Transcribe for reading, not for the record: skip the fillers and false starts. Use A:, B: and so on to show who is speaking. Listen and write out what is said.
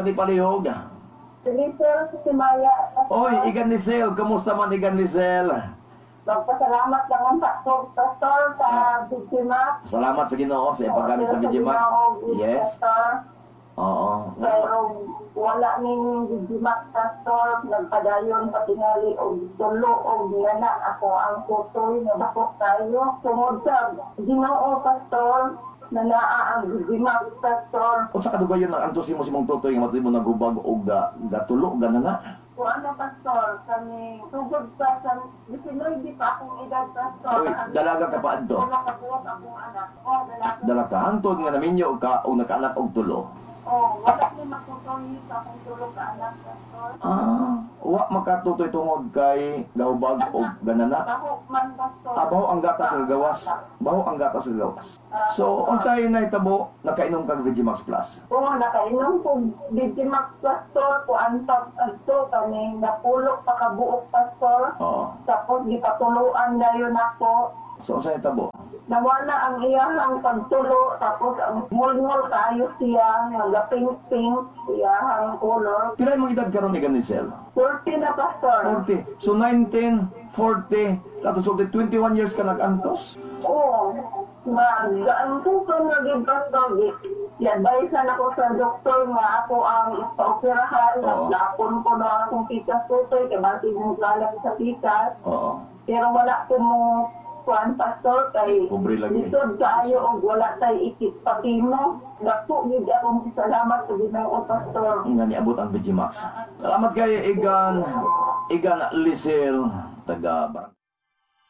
A: ni palihog?
B: Si Lizel Simaya, Pastor.
A: Oy, Igan Lisel, kumusta man, Igan Lisel?
B: Magpasalamat lang ang Pastor, Pastor, sa Bigimax.
A: Salamat sa Ginoo sa paggamit sa VGMax. Yes.
B: Pastor.
A: Oo.
B: Pero wala ning Bigimax, Pastor. Nagpadayon patingali og tulo og nana ako ang tutoy nga dako kayo. Tungod sa Ginoo, Pastor, na naa ang Bigimax, Pastor.
A: Unsa kadugayon nang antos mo si mong tutoy nga matuod mo naghubag og gatulo ganana?
B: Kung ano, Pastor, kami tugod pa sa 19 pa akong edad, Pastor.
A: Uy, dalaga ka pa adto.
B: Wala ka buok akong anak. Oh, dalaga.
A: Dalaga hangtod nga naminyo ka og nakaanak og tulo.
B: Oh, wala ni matutoy sa akong tulo ka anak, Pastor.
A: Ah, wa makatutoy tungod kay gahubag og ganana.
B: Baho man, Pastor.
A: Ah, baho ang gatas nga gawas. Baho ang gatas nga gawas. So, unsay nahitabo, nakainom kag VGMax Plus?
B: Oo, nakainom ko Bigimax, Pastor, kuan pa adto kami napulok pa kabuok, Pastor.
A: Oo.
B: Tapos gipatuluan dayon ako.
A: So, unsay nahitabo?
B: Nawala ang iyahang pagtulo, tapos ang mulmul kaayo siya, nga pink-pink iyahang color.
A: Pila imong edad karon, Igan Lisel?
B: 40 na, Pastor.
A: 40. So 19, 40, lato sulti 21 years ka nag-antos?
B: Oo. Mag-antos na gyud, Pastor. I-advise na ako sa doktor nga ako ang paoperahan. Napon ko na akong pikas tutoy, kay basig mo kalat sa pikas. Pero wala ko mo kuan, Pastor, kay
A: Pobre lagi.
B: Lisod kaayo og wala tay ikit patimo. Dako gid akong salamat sa Ginoo, Pastor.
A: Nga niabot ang VGMax. Salamat kay Igan Igan Lisel taga Barangay